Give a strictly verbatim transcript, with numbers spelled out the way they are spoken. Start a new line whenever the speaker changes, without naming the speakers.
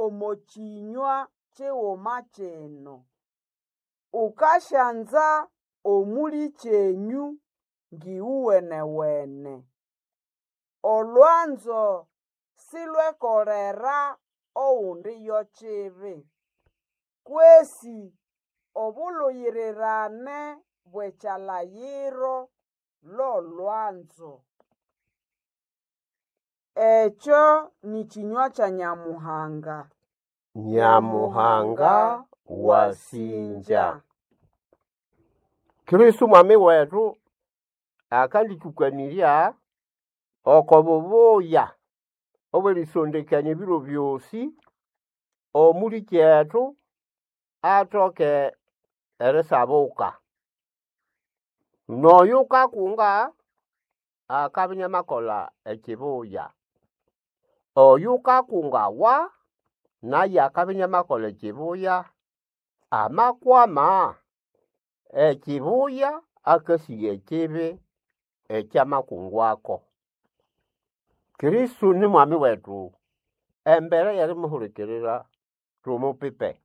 omo kĩnywa kiguma kino. Ukasyanza omũlĩkyenyũ ngĩgũwenewene. Olwanzo silwekolera ogundi yo kibi, kwesi obuluyirirane bw'ekyalayiro lolwanzo. Ekyo nĩ kĩnywa kya Nyamuhanga.
Nyamuhanga wasinja. Kristo mwami wetu akandĩtũkanĩrya oko bubuya obw'erisondekania ebiro byosi omũlĩkyetu atoke erisabuka. N'oyu ukakunga akabya iniamakolha ekibuya. Oyu ukakungawa naye akabya iniamakolha ekibuya. Amakwama ekibuya akasigha ekibi ekyamakungwako. Kristo ni mwami wetu embere y'erimuhulikirira tumupipe.